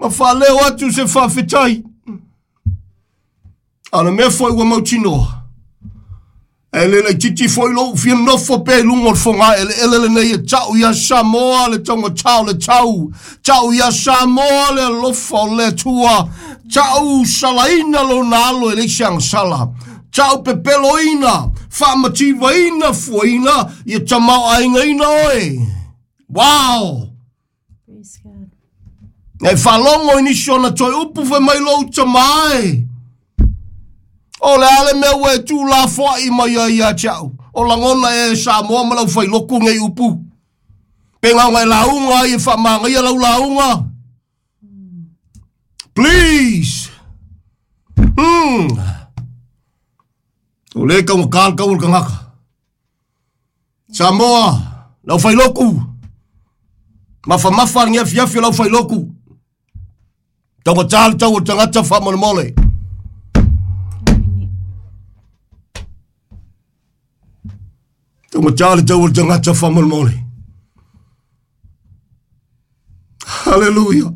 Ma faaleo atu se faafetai. A o le mea foi ua mautinoa, e le laitiiti foi lou fia nofo pea i luga o le fogaeleele lenei e tau ia Samoa le taugatā o le tau, tau ia Samoa le alofa o le Atua, tau salaina lona alo e leai se agasala, tau pepeloina, faamativaina fuaina, ia tamaoaigaina oe. Wow! Praise God. E faalogo i nisi ona toe upu fai mai lou tama e. O le a le mea ua e tuulafoai mai ai ia te au? O lagona e Samoa ma lau failoku nei upu. Pe gaoga e lauga ai e faamagaia lau lauga. Please. O le taugata le tau o le tagata. Samoa, lau failoku. Mafamafa le afiafi o lau failoku. Taugata le tau o le tagata faamolemole. Taugata le tau o le tagata faamolemole. Hallelujah.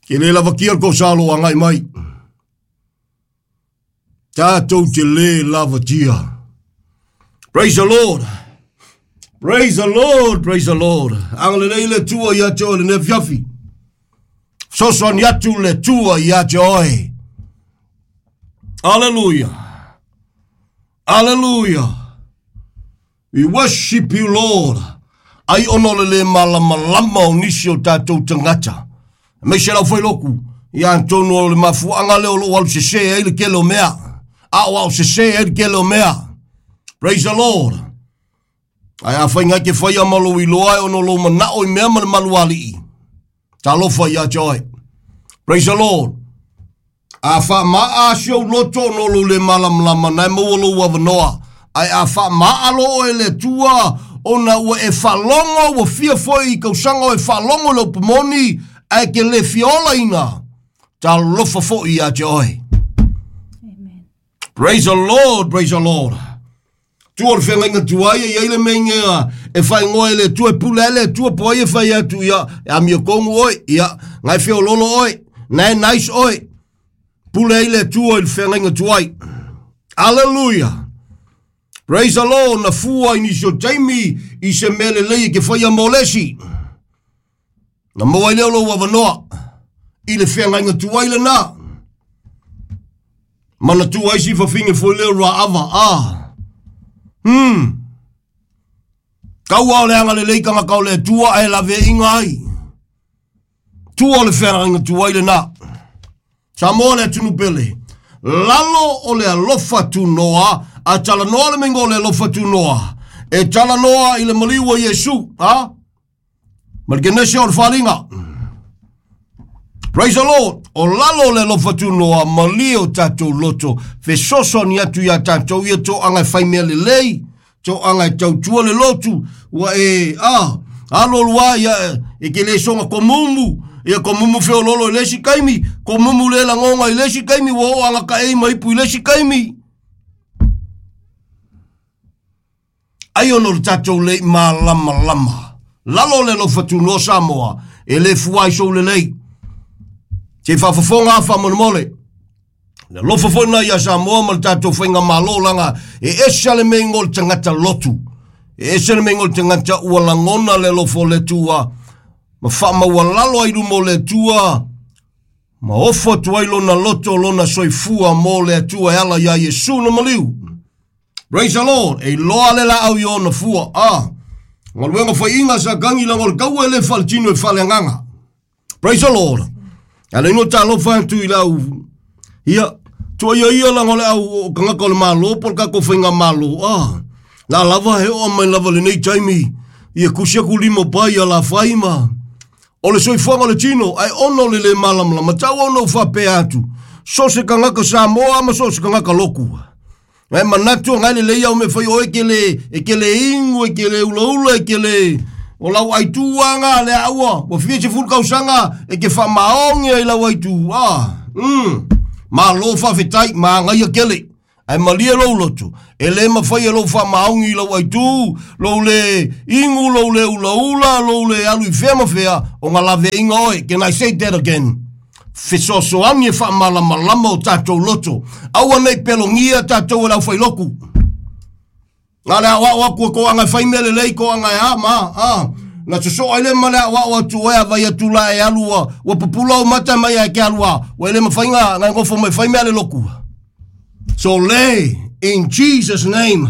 Ke le lavakia le kosa lo agai mai. Tatou te le lavatia. Praise the Lord. Praise the Lord, praise the Lord. Agalelei le Atua ia te oe lenei afiafi. Fesoasoani atu le Atua ia te oe. Hallelujah. Hallelujah. We worship you, Lord. Ai ona o le le malamalama o nisi o tatou tagata. Aemaise lau failoku, ia atonu o le mafuaaga lea o loo alu sese ai le tele o mea. Aoao sese ai le tele o mea. Praise the Lord. Ae afai ngai ke faia ma lou iloa e ono lou manao i mea ma le malualii. Talofa ia te oe. Praise the Lord. A faamaa si ou loto ona o lou le malamalama, na e maua lou avanoa. Ae a faamaa loa oe e le Atua, ona ua e faalogo, ua fia foi i tausaga o e faalogo i le upu moni, ae te le fia olaina, talofa foi ia te oe. Amen. Praise the Lord, praise the Lord. Tua o le feagaiga tuai e i ai le mea inea e faaigoa e le Atua e pule ai le Atua po o ai e fai atu ia e amiotonu oe, ia na e feololo oe, na e nice oe. Pule ai le Atua i le feagaiga tuai. Alleluia. Praise the Lord, na fua i nisi o taimi i se mea lelei e ke whaia mō lesi. Na maua ai lea o lou avanoa i le feagaiga tuai lena. Manatua ai si fafine foi lea o Raava, a. Kaua o le agalelei tagata o le Atua ae laveaiga ai. Tua o le feagaiga tuai lena. Samoa le atunuu pele. Lalo o le alofa tunoa, a talanoa le meinga o le alofa tunoa. E talanoa i le maliu o Iesu, a? Ma le Kenese o le faaaliga. Praise the Lord. O lalo o le alofa tunoa, malie o tatou loto, fesoasoani atu iā tatou ia toaga e fai mea lelei, toaga e tautua le lotu, ua e, a, alo alu lava ia, e te le soga komumu, ia komumu feololo i le isi taimi, komumu le lagoga i le isi taimi, ua oo agataei ma ipu i le isi taimi. Ai ona o le tatou le i malamalama. Lalo o le alofa tunoa Samoa, e le fua ai sou lelei. Se i faafofoga lava faamolemole. Le alofa foi lena ia Samoa ma le tatou faigamalo laga e ese le mea o le tagata lotu. E ese le mea o le tagata ua lagona le alofa o le Atua ma faamaualalo ai luma o le Atua ma ofo atu ai lona loto lona soifua mo le Atua e ala iā Iesu na maliu. Praise the Lord. E iloa le laau i ona fua. Ah. Galuega faiiga sa kagi laga o le taua e le faletino e faaleagaga. Praise the Lord. A le ino talofa atu i lau ia tuaia ia laga o le au o tagata o le Malo po o le tatou faigamalo. Ah. La lava he oo mai lava lenei taimi ia kusi aku lima pai ia la fai ma o le soifuaga o le tino ae ona o le le malamalama tau ona ou faapea atu so se tagata Samoa ma so se tagata loku. Ngai manatu ngai lelei au me fai oe ke le e ke le ingu e ke le ulaula e ke le o lau aituaga le aua ua fia sefulu tausaga e ke faamaogi ai lau aitu. Malo faafetai magaia kele. Ae malie lou loto, e lē mafai e lou faamaogi i lou aitū, lou lē igu, lou lē ulaula, lou lē alu i fea ma fea, o ga laveaiga oe. Can I say that again? Fesoasoani e faamalamalama o tatou loto. Aua ne i pelogia tatou e le aufailoku. Na le aoao atu e toaga e fai mea lelei, toaga e a ma a. Na sosoo ai le ma le aoao atu oe a vai atu la e alu ua, ua pupula ou mata mai ai ke alu a. Ua ele mawhai ngā, ngā ngofo mai fai mea le loku. So le, in Jesus name,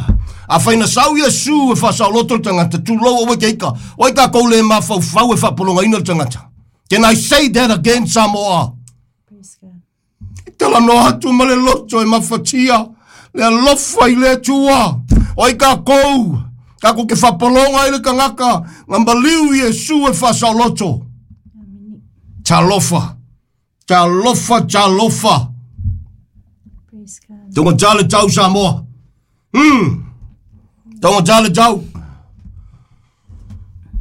a whaina sau Iesu e whasaoloto le tangata, tūlou owe ke ika. Oi ka kou le mafaufau e whapolongaina le tangata. Can I say that again, Samoa? Praise God. Talanoa atu ma le loto e mafatia le alofa i le Atua. O ai kākou, kākou ke whapolonga i le kangaka, ngā maliu Iesu e whasaoloto. Amen. Talofa, talofa, talofa. Praise God. Tonga tale tau Samoa. Tonga tale tau.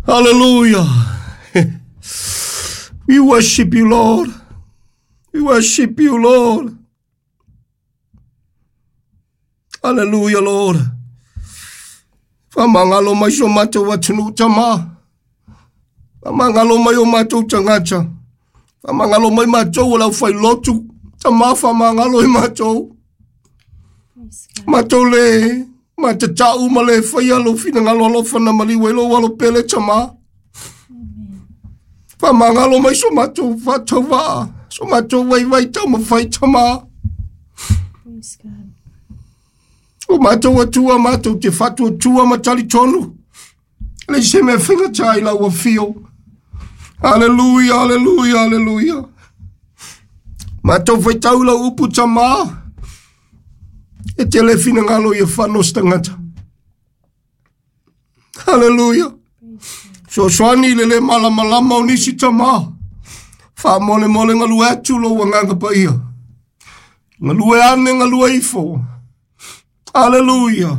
Hallelujah. We worship you, Lord. We worship you, Lord. Hallelujah, Lord. Whamangalo mai so mātou atunu tama. Whamangalo mai o mātou tangata. Whamangalo mai mātou o lau whai lotu. Tama whamangalo i mātou. Praise God. Mātou le, ma te tau ma le whai alo whina ngalo alo whana mali welo alo pele tama. Amen. Whamangalo mai so mātou whātau wā. So mātou wai wai tau ma whai tama. Praise God. O mātou atua mātou te whatu atua ma tali tonu. Le se mea whinga tai lau a whio. Hallelujah, hallelujah, hallelujah. Mātou whai tau lau upu tama. E te le whina ngalo i a whano stangata. Hallelujah. Praise God. So swani le le malamalama o nisi tama. Wha mole mole ngalu atu lo wanganga pa ia. Ngalu e ane ngalu e ifo. Hallelujah.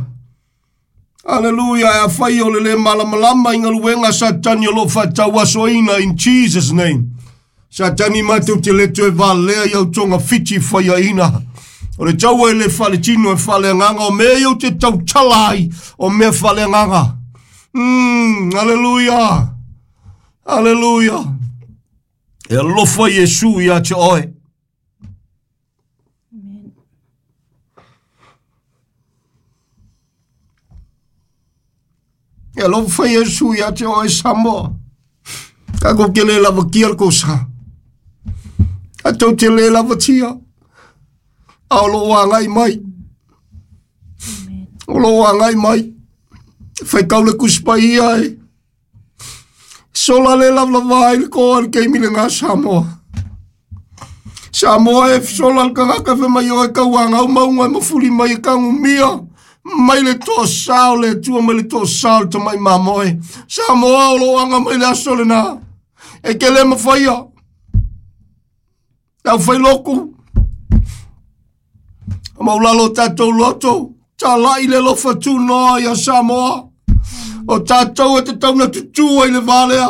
Hallelujah. E a whai o le le malamalama i ngaluenga satani o lo whatau asoina in Jesus name. Satani mātou te leto e valea i au tonga whiti whai a ina. O le tau e le whale tino e whale nganga o mea i au te tau talai o mea whale nganga. Hallelujah. Hallelujah. E alofa Iesu ia te oe. Amen. E alofa Iesu ia te oe Samoa. Ka ko ke le lava kia le kosa. A tau te le lava tia. A o lo angai mai. Amen. O lo angai mai. Whai kau le kuspa ia e. Sola le lava lava ai le koa le keimi le ngā Samoa. Samoa e sola le kangaka fe mai o e kau angau maunga e mafuli mai e kangu mia. Mai le toa sao le tua mai le toa sao le tamai mamoe. Samoa o lo anga mai le aso le nā. E ke le mawhaia. Tau whai loku. A maulalo tātou loto. Tā lai le lofa tū noa ia Samoa. O tātou e te tauna tutua i le valea.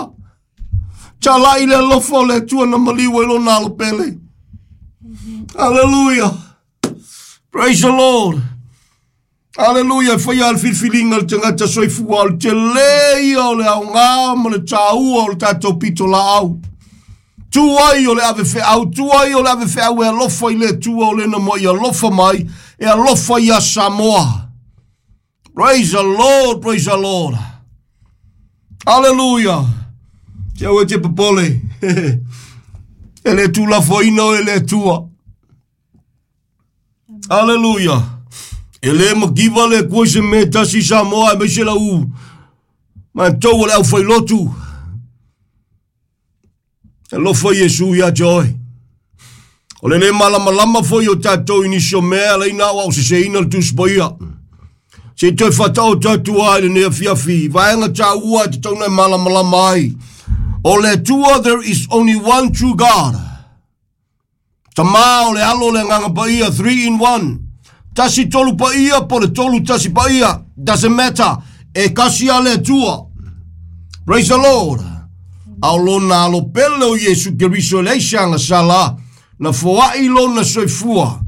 Tā lai le lofa o le tua na maliwa i lo nalo pele. Hallelujah. Praise the Lord. Hallelujah. Whai al filfilinga le tangata soifua o le te leia o le au ngā ma le tāua o le tātou pito la au. Tuai o le ave wheau, tuai o le ave wheau e alofa i le tua o le na moi alofa mai, e alofa ia Samoa. Praise the Lord, praise the Lord. Hallelujah. Te au e te papole. E le tū lafoina o e le tua. Hallelujah. E le makiva le kua se me tasi Samoa e meise la u. Mātou o le au whailotu. E lofa Iesu ia te oe. O le le malamalama foi o tātou inisio mea le ina au se se ina le tuspoia. Se toe whatao tātua ai le nea fiafi. Vaenga tā ua te tauna e malamalama ai. O le tua, there is only one true God. Tamā o le alo le nganga paia, 3 in 1. Tasi tolu paia, po le tolu tasi paia. Doesn't matter. E kasi a le tua. Praise the Lord. Ao lona alo pele o Iesu Keriso le shanga sala. Na foai lona soifua.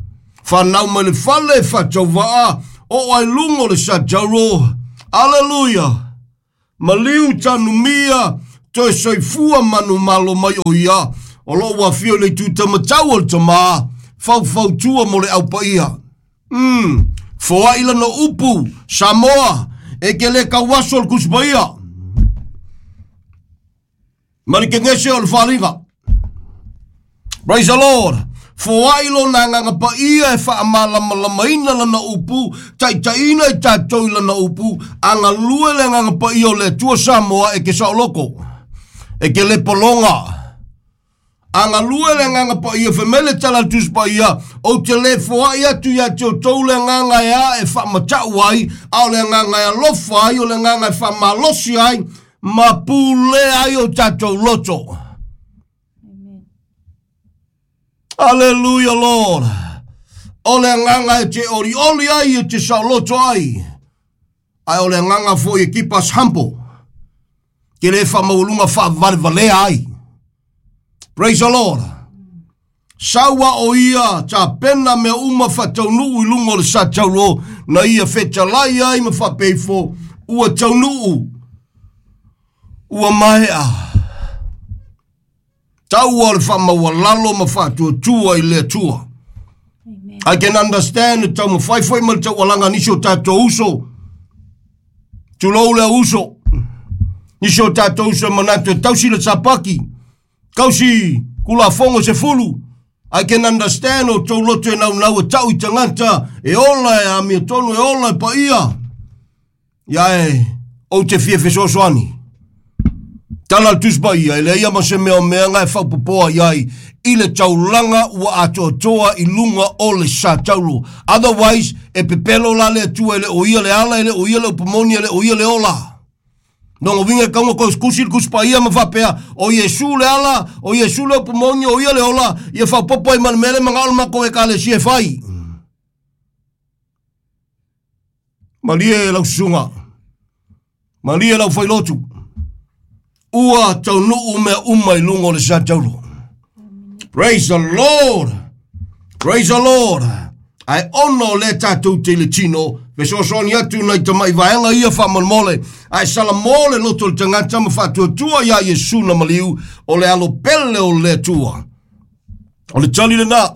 Fanau mai le fale faatauvaa oo ai luga o le satauro. Aleluia. Maliu tanumia toe soifua manumalo mai o ia. O loo ua afio i le itu tamatau o le tamā faufautua mo le aupaia. Foai lana upu Samoa e ke le kauaso o le Tusi Paia ma le kegese o le faaaliga. Praise the Lord. Foai lona agaga paia e faamalamalamaina lana upu, taitaiina i tatou i lana upu, agalue le agaga paia o le Atua Samoa e ke saoloko, e ke le pologa. Agalue le agaga paia fai mai le tala a le Tusi Paia, ou te le foai atu ia te outou le agaga e a e faamatau ai, a o le agaga e alofa ai, o le agaga e faamalosi ai, ma pulea ai o tatou loto. Amen. Hallelujah, Lord. O le agaga e te olioli ai e te saoloto ai. Ae o le agaga foi e keep us humble. Ke le faamaualuga faavalevalea ai. Praise the Lord. Saua o ia tapena mea uma faataunuu i luga o le satauro na ia fetalai ai ma faapeifo ua taunuu ua maea. Taua o le faamaualalo ma faatuatua i le Atua. Amen. I can understand le taumafai foi ma le taualaga a nisi o tatou uso. Tulou le uso. Nisi o tatou uso e manatu e tausi le sapaki. Tausi kulafogo 10. I can understand o tou loto e naunau e tau i tagata e ola e amiotonu e ola e paia. Ia e ou te fia fesoasoani. Tala le Tusi Paia, e leai ma se mea o meaga e faapopoa iai i le taulaga ua atoatoa i luga o le satauro. Otherwise, e pepelo la le Atua e le o ia le ala, e le o ia le upumoni, e le o ia le ola. Nongo winga e kaunga ko kusi le Tusi Paia ma faapea, o Iesu le ala, o Iesu le upumoni, o ia le ola, ia faapopo ai ma le mele manga o le mako e kalesia e fai. Malie lau susuga, malie lau failotu, ua taunuu mea uma i luga o le satauro. Praise the Lord. Praise the Lord. Ae ona o lea tatou te i le tino, fesoasoani atu nai tamai vaega ia faamolemole, ae salamo le loto o le tagata ma faatuatua iā Iesu na maliu o le alo pele o le Atua. O le tali lena.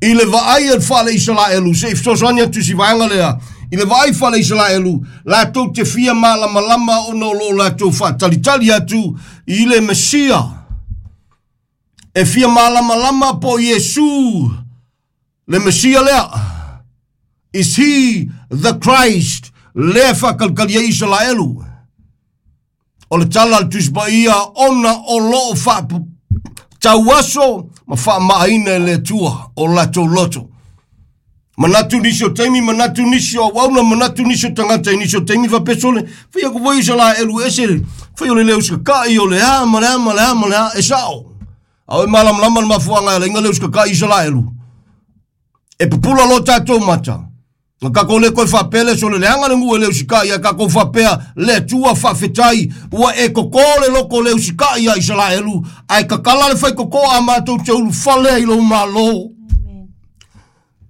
I le vaai a le fale Isaraelu, se i fesoasoani atu si vaega lea, i le vaai fale Isaraelu, latou te fia malamalama ona o loo latou faatalitali atu i le Mesia. E fia malamalama po Iesu le Mesia lea. Is he the Christ? Lea faakalikali ai Isaraelu. O le tala a le Tusi Paia ona o loo faatauaso ma faamaaina e le Atua o latou loto. Manatu nisi o taimi, manatu nisi o auauna, manatu nisi o tagata i nisi o taimi faapesole, fai aku foi Isaraelu ese, fai o le leo sakakai o le a ma le a ma le a ma le a, e sao. A o e malamalama le mafuaaga e ala ai na leo sakakai Isaraelu. E pupula loa tatou mata. Na tatou le toe faapea le aso le leaga le nuu e le usitai ae tatou faapea le Atua faafetai ua e totō le loto le usitai ia Isaraelu ae tatala le faitotoa a matou te ulufale ai i lou Malo. Amen.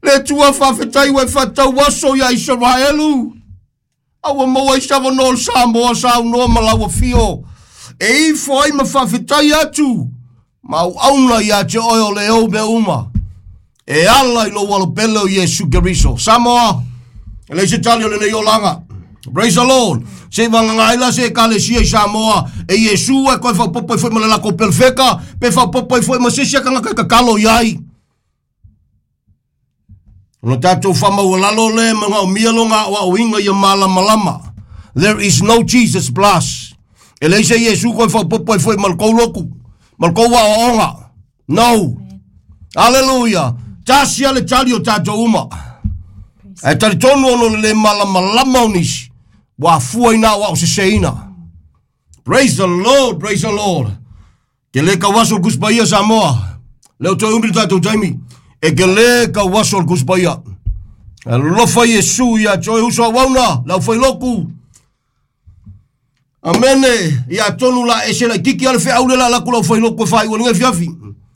Le Atua faafetai ua e faatau aso ia Isaraelu a ua maua ai se avanoa o le Samoa saunoa ma lau afio e ifo ai ma faafetai atu ma auauna ia te oe o le ou mea uma e ala i lou alopele o Iesu Keriso. Samoa, e leai se tali o lenei olaga. Praise the Lord. Se i vagana ai la se ekalesia i Samoa e Iesu e koe faapopo ai foi ma le latou pelefeka, pe faapopo ai foi ma se isi a tagata e tatalo iai. Ona tatou faamaualalo lea e manaomia lona aoaoina ia malamalama. There is no Jesus plus. E leai se Iesu koe faapopo ai foi ma le tou lotu, ma le tou aoaoga. No. Hallelujah. Tasi a le tali o tatou uma. Ae talitonu ona o le le malamalama o nisi, ua afua ina aoao seseina. Praise the Lord, praise the Lord. Ke le kauaso o le Tusi Paia Samoa. Leo toe umi le tatou taimi. E ke le kauaso o le Tusi Paia. Alofa Iesu ia te oe uso auauna, le aufailotu. Amene, ia tonu la ese laititi a le feau le la laku lau failotu e faaiu ai lenei afiafi.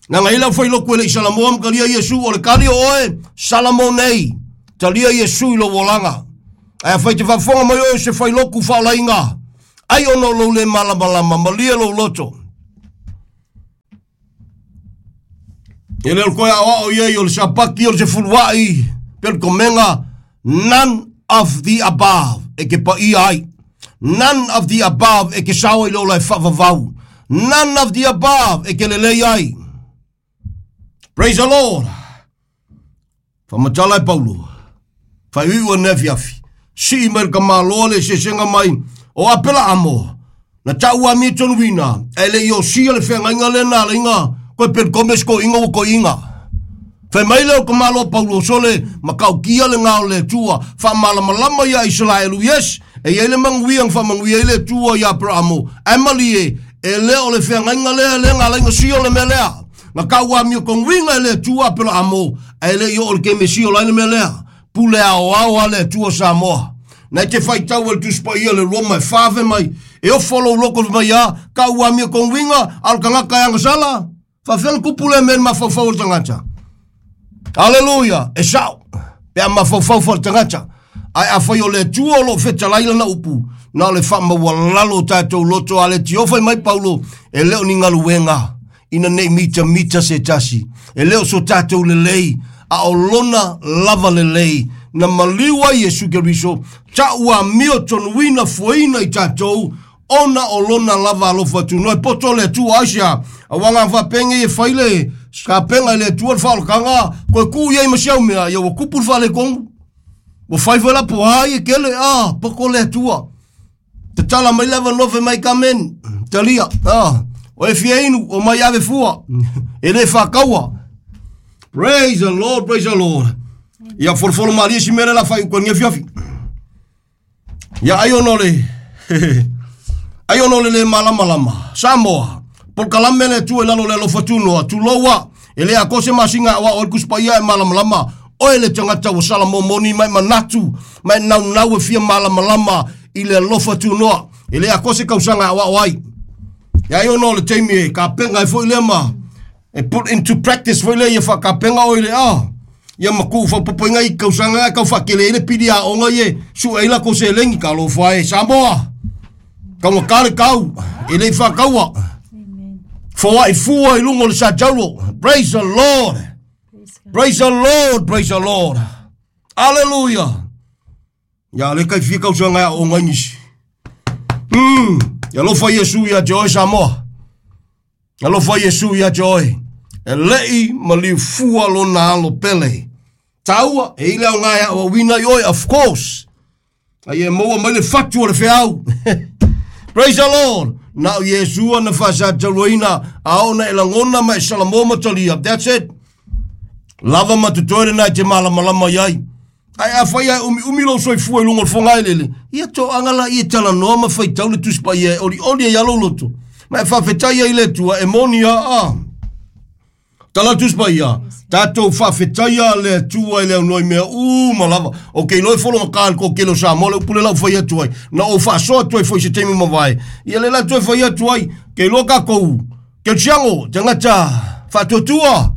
Na ngai lau fai loku e le i Salamoa ma talia Iesu o le kali o oe, Salamo nei. Talia Iesu i lou olaga. Ae afai te faafofoga mai oe o se fai loku faolaina, ai ona o lou le malamalama, malie lou loto. E le o le toe aoao i ai o le sapaki o le sefuluai pe o le komega, none of the above e ke paia ai. None of the above e ke sao ai le ola e faavavau. None of the above e ke lelei ai. Praise the Lord. Whamatala e Paulo. Whaiuiu e neafiafi. Sii mai le kamaloa le sesega mai o Apela amo. Na tau a mie tonuina. E le i o sia le whengainga le nā leinga. Koe per komes ko inga o ko inga. Fai mai lea o ka Malo Paulo sole makaukia le ngao le Atua faamalamalama ia Isaraelu yes e iai le manuia na faamanuia ai le Atua ia Aperamo ae malie e le o le feagaiga lea le galaiga sio le mea lea na kau amio konuiga e le Atua Aperamo ae le i oo le keme sio lai le mea lea pule aoao a le Atua Samoa na e te faitau e le Tusi Paia le Roma e fave mai e ofo lou loko mai a kau amio konuiga a o le tagata e agasala Faafefea le kupu lea mea i le mafaufau o le tagata? Aleluia! E sao, pe a mafaufau foi le tagata. Ae afai o le Atua o lo o fetalai lana upu, na o le faamaualalo o tatou loto a le tiofa mai Paulo, e le o ni galuega ina nei mitamita se tasi. E le o so tatou lelei, a o lona lava lelei na maliu ai Iesu Keriso, ta'u amio tonuina fuaina i tatou ona o lona lava alofa atu. No e poto le Atua aisea, aua ngā whapenge e whai le skapenga i le Atua le whaolakanga, koe ku iai ma siau mea, ia ua kupu le whalekongu. Ua whai whai la poha i e kele, ah, poko le Atua. Tatala mai lava nofe mai kamen, talia, ah, o e fia inu, o mai ave fua, e le whakaua. Praise the Lord, praise the Lord. Ia folofolo malie si mele la whai ukongia fiafi. Ia ai ona o le ai ona o le le malamalama. Samoa, polokalame le Atua i lalo o le alofa tunoa, tuloua, e le akoa se masina aoao ai le Tusi Paia e malamalama. Oe le tagata ua sala momoni ma e manatu ma e naunau e fia malamalama i le alofa tunoa. E le akoa se kausaga e aoao ai. Ia ai ona o le taimi e kapenga ai foi lea ma e put into practice foi lea ia faakapenga oe i le a ia ma kuu faaopoopoina i kausaga e tau faatele ai le pili aoga ia e sue ai latou seleni. Talofa e Samoa, taugata le tau e le i faataua. Foai fua i luga o le sataulo. Praise the Lord. Praise the Lord, praise the Lord. Hallelujah. Ia le kai fia kausaga e aoga ai nisi. Ia alofa Iesu ia te oe Samoa. Alofa Iesu ia te oe. E lei maliu fua lona alo pele. Taua, e i le aoga e aoaoina i oe, of course. Ai e maua mai le fatu o le feau. Praise the Lord. Na o Iesu na faasatauaina a ona e lagona ma e salamoa ma talia. That's it. Lava ma totoe lena e te malamalama i ai. Ae afai ae umiumi lou soifua i luga o le fogaeleele, ia toaga la ia talanoa ma faitau le Tusi Paia e olioli ai lava lou loto, ma e faafetai ai i le Atua, e moni lava a. Tala le Tusi Paia, tatou faafetaia le Atua i le aunoa i mea uma lava. O ke iloa e fologata i le toatele o Samoa le upu lea la ou fai atu ai, na ou faasoa atu ai foi i se taimi mavae, ia lea la toe fai atu ai, ke iloa tatou Kerisiano, tagata faatuatua,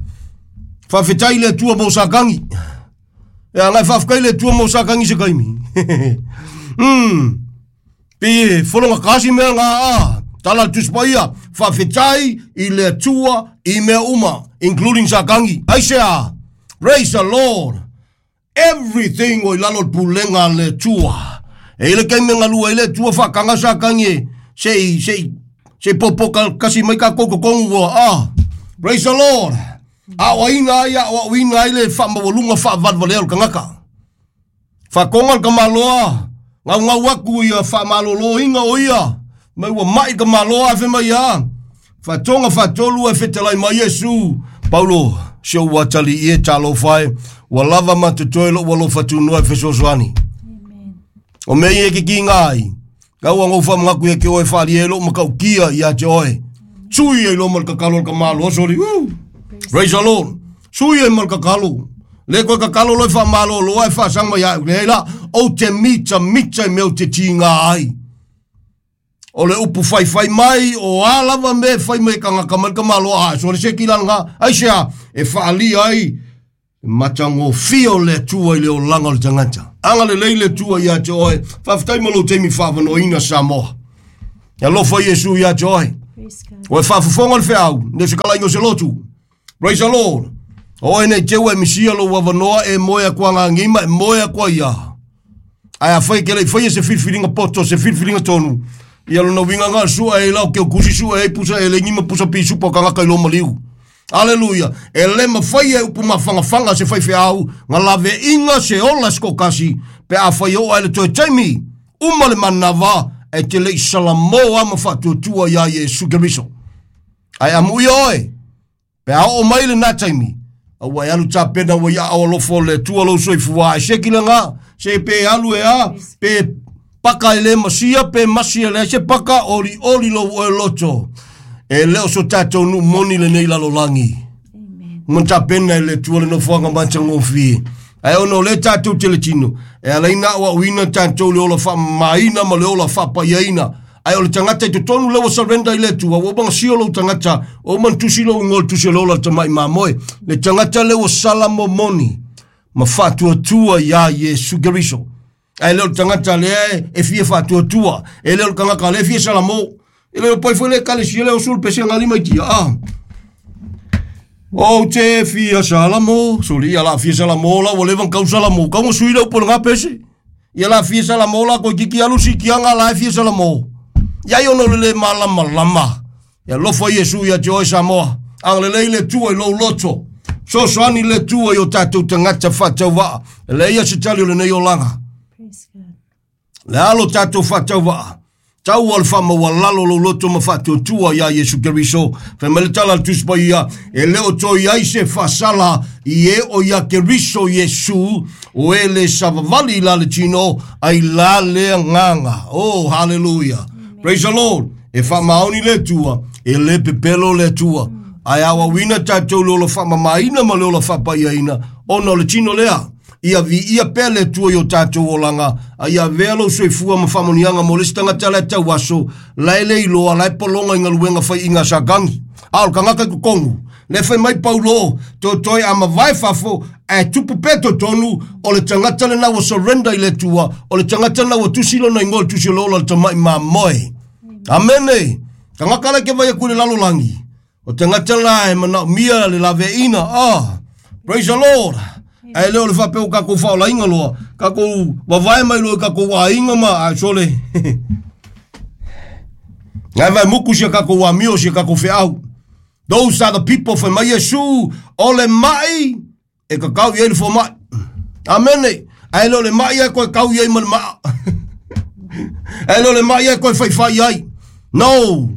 faafetai i le Atua mo Satani. E agai faafetai le Atua mo Satani se taimi. Pe e fologata si mea ngā a. Tala le Tusi Paia, faafetai i le Atua i mea uma, including Satani. Aisea, praise the Lord. Everything ua i lalo o le pulega a le Atua. E i le taimi e galue ai le Atua faataga Satani e se i, se i, se i popo kasi mai tatou totonu ua, ah, praise the Lord. Aoaina ai, aoaoina ai le faamaualuga faavalevalea o le tagata. Faatoga le tamaloa, gaugau atu ia faamaloloina o ia, mai ua mai le tamaloa ae fai mai a. Faatoga faatolu ae fetalai mai Iesu, Paulo, se ua atalii e talofa e, ua lava ma totoe lou alofa tunoa e fesoasoani. O mea ia e kikiga ai, kau anga ou faamanatu ia te oe e faaalia ai lou matautia ia te oe. Sui ai loa ma le tatalo a le tamaloa soli. Woo! Praise the Lord. Sui ai ma le tatalo. Le koe tatalo loa e faamalolo ae faasaga mai ia au. Leai la, ou te mitamita i mea ou te tiga ai. O le upu faifai mai, o a lava mea e fai mai e tagata mai le tamaloa, a sole se kilala aisea e faaalia ai le matagofie o le Atua i le olaga o le tagata. Agalelei le Atua ia te oe. Faafetai mo lou taimi faavanoaina Samoa. E alofa Iesu ia te oe. Praise God. Oe faafofoga le feau, le se kalaiga o se lotu. Praise the Lord. Oe nei te ua e misia lou avanoa e moe atu agagima, e moe atu ai ia. Ae a fai ke lei faia se filifiliga poto, se filifiliga tonu, ia lona uiga na o le sua e lau keu kusi sua e pusa e lengi ma pusa pisupa o tagata i lo maliu. Aleluia. E le mafai e upu mafagafaga se faifeau na laveiga se ola se toatasi pe afai oo ai le toe taimi uma le manava e te lei salamo a ma faatuatua iā Iesu Keriso. Ae amuia oe pe a oo mai lena taimi, aua e alu tapena ua i aao alofa o le Atua lou soifua ae se kilaga, se pe alu e a, pe paka e le masia, pe masi e leai se paka, olioli lou oe loto. E le o so tatou nuu moni lenei lalolagi. Amen. Ma tapena e le Atua le nofoaga matagofie. Ae ona o lea tatou te le tino, e ala ai na aoaoina tatou le ola faamamaina ma le ola faapaiaina. Ae o le tagata i totonu lea ua surrender i le Atua, ua uma ona sio lou tagata, ua uma ona tusi lou igoa i le tusi o le ola a le tamai mamoe. Le tagata lea ua sala momoni ma faatuatua iā Iesu Keriso. Ae le o le tagata lea e fia faatuatua, e le o le tagata lea e fia salamo. E le o pai foi le ekalesia lea o sul pese ngali mai tia. Ah. Ou te fia salamo, soli ia la fia salamo la ua leva ona kau salamo, kau ma sui le upu o le ngā pese. Ia la fia salamo la koe kiki alu sikianga la e fia salamo. Ia i ono le le malamalama. Ia alofa Iesu ia te oe Samoa. Agalelei le Atua i lou loto. Fesoasoani le Atua i o tatou tagata faatauvaa. E leai se tali o lenei olaga. Praise God. Le alo tatou faatauvaa. Tau o le faamaualalo lou loto ma faatuatua iā Iesu Keriso. Fai mai le tala a le Tusi Paia, e le o toe i ai se faasala i e o ia Keriso Iesu, o e le savavali i la le tino, ai la le agaga. Oh, hallelujah. Praise the Lord. E faamaoni le Atua, e le pepelo le Atua. Ae aoaoina tatou le ola faamamaina ma le ola faapaiaina, ona o le tino lea. Ia viia pea le Atua i o tatou olaga, a ia avea lou soifua ma faamanuiaga mo le isi tagata la e tauaso, la e le iloa, la e pologa i galuega faiiga a Satani. A o le tagata i totonu, le fai mai Paulo, toetoe a mavae fafo, ae tupu pea totonu, o le tagata lena ua surrender i le Atua, o le tagata lena ua tusi lona igoa i le tusi o le ola o le tamai mamoe. Amene! Tagata la e ke vai aku i le lalolagi, o tagata la e manaomia le laveaiina. Ah, praise the Lord! Ae le o le faapea ua tatou faaolaina loa, tatou vavae mai loa i tatou aiga ma ae sole. Ngai vai muku sia tatou amio sia tatou feau. Those are the people fai mai Iesu, o le mai e kakau i ai le fomai. Amene. Ae le o le mai ai koe kau i ai ma le maa. Ae le o le mai ai koe whaiwhai ai. No.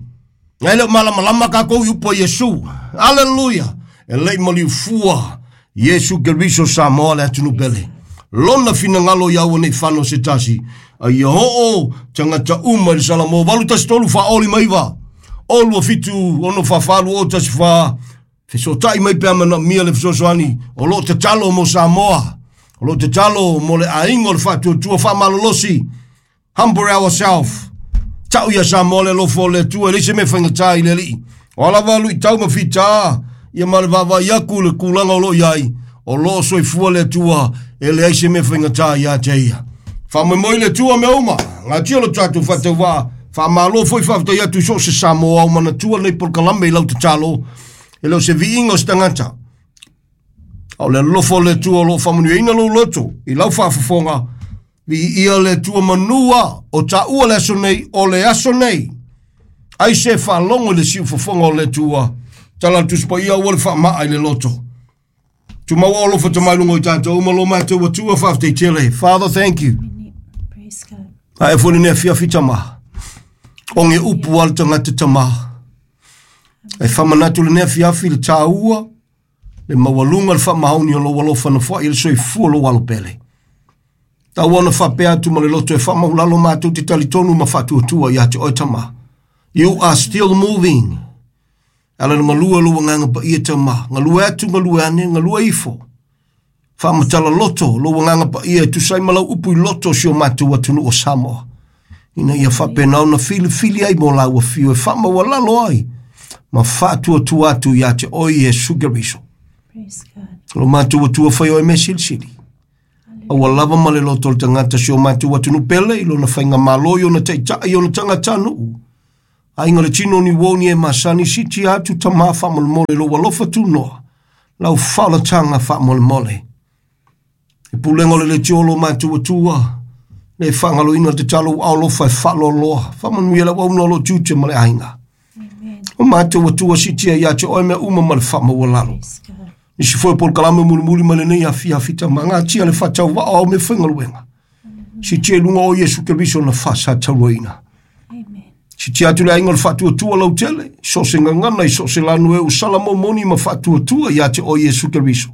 Ae le o malamalama kākou i upu a Iesu. Aleluia. E lei maliu fua Iesu Keriso Samoa le atunuu pele. Lona finagalo ia aua nei fano se tasi. A ia oo tagata uma i le Salamo 813 faaoli ma iva. O 27 ono whawhalu o tasi wha. Fesootai mai pe a manaomia le fesoasoani o lo o tatalo mo Samoa, o lo o tatalo mo le aiga o le faatuatua faamalolosi. Humble ourselves. Tau ia Samoa le alofa o le Atua, e leai se mea faigata i le Alii. O a lava luitau ma fita, ia ma le vaavaai atu i le tulaga o lo o i ai, o lo o soifua le Atua, e leai se mea faigata ia te ia. Faamoemoe i le Atua mea uma, gatia lo tatou faatauvaa, faamalo foi faafetai atu i so o se Samoa o manatua lenei polokalame i lau tatalo, e le o se viiga o se tagata. A o le alofa o le Atua o lo o faamanuiaina lou loto i lau faafofoga, viia le Atua manua o taua le aso nei, o le aso nei. Ai se faalogo i le siufofoga o le Atua, tala le Tusi Paia aua le faamaa i le loto. Tumau o alofa tamai lunga o i tatou uma lo matou Atua faafetai tele. Father, thank you. Praise God. Ae foi lenei afiafi tama. O ge upu a le tagata tama. E faamanatu lenei afiafi le tāua, le maualuga le faamaoni o lou alofa na foai i le soifua o lou alo pele. Tau ona faapea atu ma le loto e faamaulalo matou te talitonu ma faatuatua ia te oe tama. You are still moving. Ala le galue o lou agaga paia tama. Galue atu, galue ane, galue ifo. Faamatala loto lou agaga paia e tusa ai ma lau upu i loto o si o matou atunuu o Samoa. Ina ia faapena ona filifili ai mo laua fio e faamaualalo ai ma faatuatua atu ia te oe Iesu Keriso. Praise God. Lo matou atua fai oe mea silisili. Aua lava ma le loto o le tagata si o matou atunuu pele i lona faigamalo i ona taitai i ona tagatanuu. Aiga le tino ni uo ni e masani siti atu tamā faamolemole lou alofa tunoa. Lau faaolataga faamolemole. E pulega o le leitio lo matou atua. Le faagaloina le tatalo ua alofa e faaloaloa. Faamanuia le auauna o lo tiute ma le aiga. Amen. O matou atua sitia ia te oe mea uma ma le faamaualalo. Praise God. Nisi foi o polokalame mulimuli mai lenei afiafi tama. Gatia le faatauvaa o mea faigaluega. Sitia i luga o Iesu Keriso na faasatauaina. Amen. Sitia atu le aiga o le faatuatua lautele, so se gagana i so se lanu e usala momoni ma faatuatua ia te oe Iesu Keriso.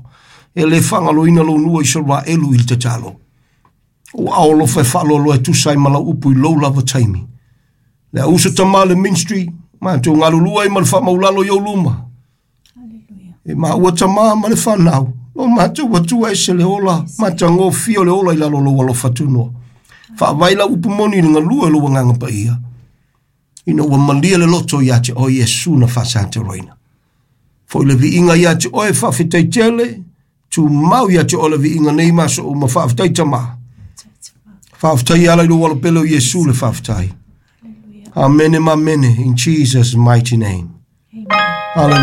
E le faagaloina lou nua i Isaraelu i le tatalo. Ua aolofa e faaloaloa e tusa ai ma lau upu i lou lava taimi. Le auso tama le ministry, matou galulue ai ma le faamaulalo i ou luma. Hallelujah. E maua tamā ma le fanau. O matou atua ese le ola, matagofie o le ola i lalo o lou alofa tunoa. Faavae lau upu moni i le galue o lou agaga paia. Ina ua malie le loto ia te oe Iesu na faasatauaina. Foi le viiga ia te oe faafetai tele, tumau ia te oe le viiga nei ma so uma faafetai tamā. Faafetai ala i lou alopele o Iesu le faafetai. Hallelujah. Amene ma amene, in Jesus' mighty name. Amen. Hallelujah.